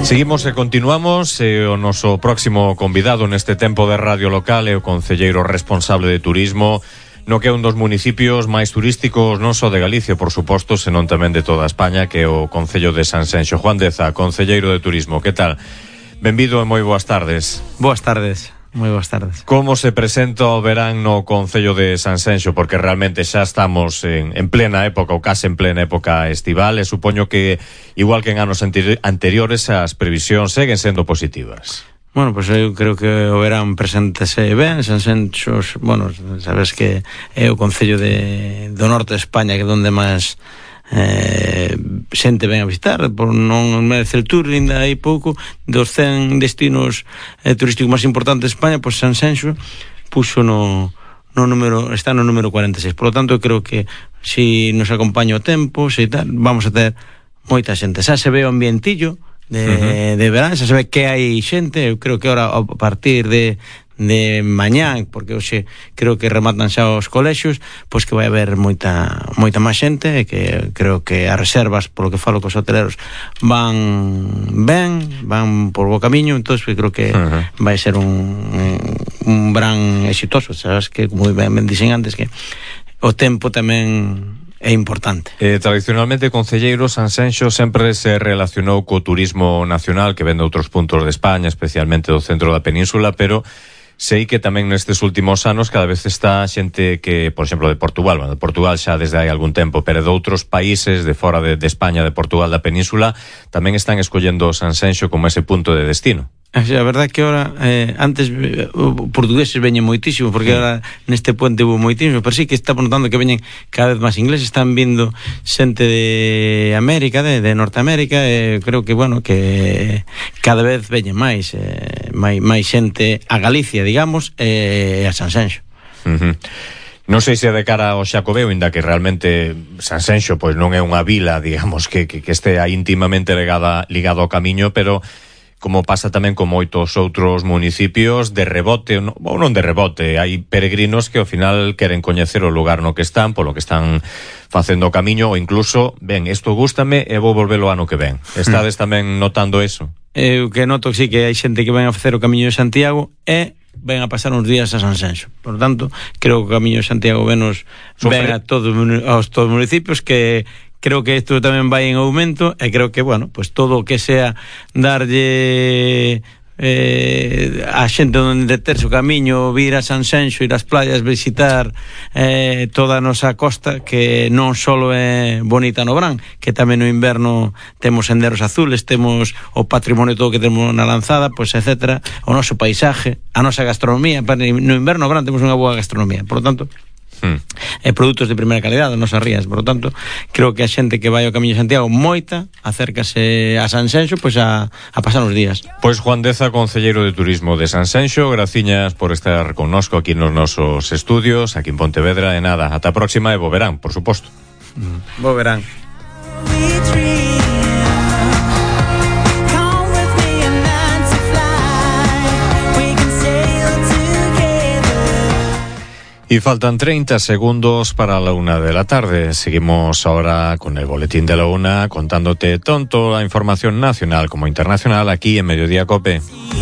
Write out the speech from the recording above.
Seguimos e continuamos. O noso próximo convidado neste tempo de radio local é o concelleiro responsable de turismo no que é un dos municipios máis turísticos non só de Galicia, por suposto, senón tamén de toda España, que é o concello de Sanxenxo. Juan Deza, concelleiro de turismo, que tal? Benvido e moi boas tardes. Boas tardes. Moi boas tardes. Como se presenta o verán no concello de Sanxenxo? Porque realmente xa estamos en plena época, ou case en plena época estival, e supoño que, igual que en anos anteriores, as previsións seguen sendo positivas. Bueno, pois eu creo que o verán preséntase ben. Sanxenxo, bueno, sabes que é o concello do norte de España, que é onde máis xente ven a visitar, por non merece el tour, ainda hai pouco, dos 100 destinos turísticos máis importantes de España, pois Sanxenxo puxo está no número 46. Por lo tanto, eu creo que se nos acompaña o tempo, se tal, vamos a ter moita xente. Xa se ve o ambientillo de verán, xa se ve que hai xente. Eu creo que ahora, a partir de mañán, porque hoxe creo que rematan xa os colexios, pois que vai haber moita máis xente, e que creo que as reservas, polo que falo cos hoteleros, van por bo camiño. Entón, creo que vai ser un verán exitoso. Sabes que, como ben dixen antes, que o tempo tamén é importante. Tradicionalmente, concelleiro, Sanxenxo sempre se relacionou co turismo nacional que ven de outros puntos de España, especialmente do centro da península, pero sei que tamén nestes últimos anos cada vez está xente que, por exemplo, de Portugal, bueno, de Portugal xa desde hai algún tempo, pero de outros países de fora de España, de Portugal, da península, tamén están escollendo Sanxenxo como ese punto de destino. A verdade é que ahora, antes portugueses veñen moitísimo, porque ahora neste puente hubo moitísimo, pero sí que estamos notando que veñen cada vez máis ingleses, están vindo xente de América, de Norteamérica, creo que, bueno, que cada vez veñen máis xente a Galicia, digamos, e a Sanxenxo. Non sei se de cara ao Xacobeo, inda que realmente Sanxenxo pois non é unha vila, digamos, que estea íntimamente ligado ao camiño, pero como pasa tamén con moitos outros municipios, de rebote, ou non de rebote, hai peregrinos que ao final queren coñecer o lugar no que están, polo que están facendo o camiño, ou incluso, ben, isto gústame e vou volver o ano que ven. Estades tamén notando eso? Eu que noto, sí, que hai xente que ven a facer o camiño de Santiago e ven a pasar uns días a Sanxenxo. Por tanto, creo que o camiño de Santiago ven a todos os municipios, que creo que isto tamén vai en aumento, e creo que, bueno, pues todo o que sea darlle a xente onde deterse o camiño, vir a Sanxenxo, ir ás playas, visitar toda a nosa costa, que non só é bonita no verán, que tamén no inverno temos senderos azules, temos o patrimonio todo que temos na Lanzada, pois, etcétera, o noso paisaje, a nosa gastronomía. No inverno, no verán, temos unha boa gastronomía. Por lo tanto, produtos de primeira calidad das nosas rías. Por lo tanto, creo que a xente que vai ao Camiño de Santiago moita acércase a Sanxenxo, pois a pasar uns días. Pois Juan Deza, concelleiro de turismo de Sanxenxo, graciñas por estar connosco aquí nos nosos estudios, aquí en Pontevedra. E nada, ata a próxima, e bo verán, por suposto. Bo verán. Y faltan 30 segundos para la 1 de la tarde. Seguimos ahora con el boletín de la 1, contándote tanto la información nacional como internacional aquí en Mediodía COPE.